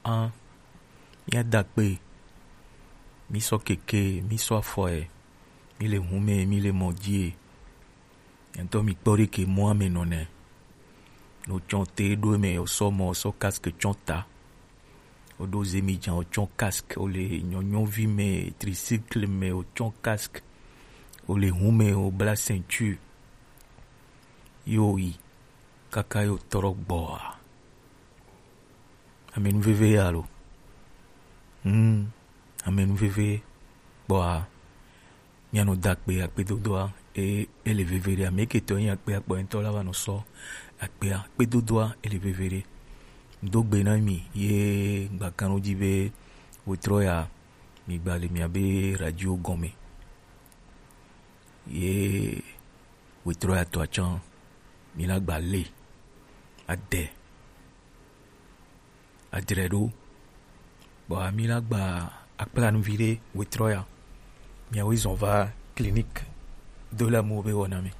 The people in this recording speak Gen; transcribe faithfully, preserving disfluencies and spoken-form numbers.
An, mía da kpe, mí sɔ keke, mí sɔ afɔe, mí le hume, mí le mɔ dzi e. Ntɔ mi kpɔ ɖe ke mɔ ame nɔ nɛ. No tsɔ te ɖo me, o sɔ mɔ, o sɔ casque tsɔ ta. O ɖo zemi dza, o tsɔ casque, o le nyɔnyɔvi me, tricycle me, o tsɔ casque, o le hume, o bla ceinture. Yo yi, kaka yo trɔ gbɔa. Amenuveve ya lo. Hmm, amenuveve kpɔa. Míanɔ da akpe, akpedodoa, e, ele veve ɖe. Ame ke tɔ yin akpe akpɔ ŋutɔ la va nɔ sɔ akpea, akpedodoa, ele veve ɖe. Do gbe na mi, ye gbakan ɖo dzi be wetrɔ ya, mi gba le mia be radio gɔme. Ye wetrɔ ya tɔ atsɔ, mi la gba le, ade, adre ɖo. Bɔa mi la gba akpla nu vi ɖe wetrɔ ya. Miawoe zɔn va clinique do la mo be wɔna me.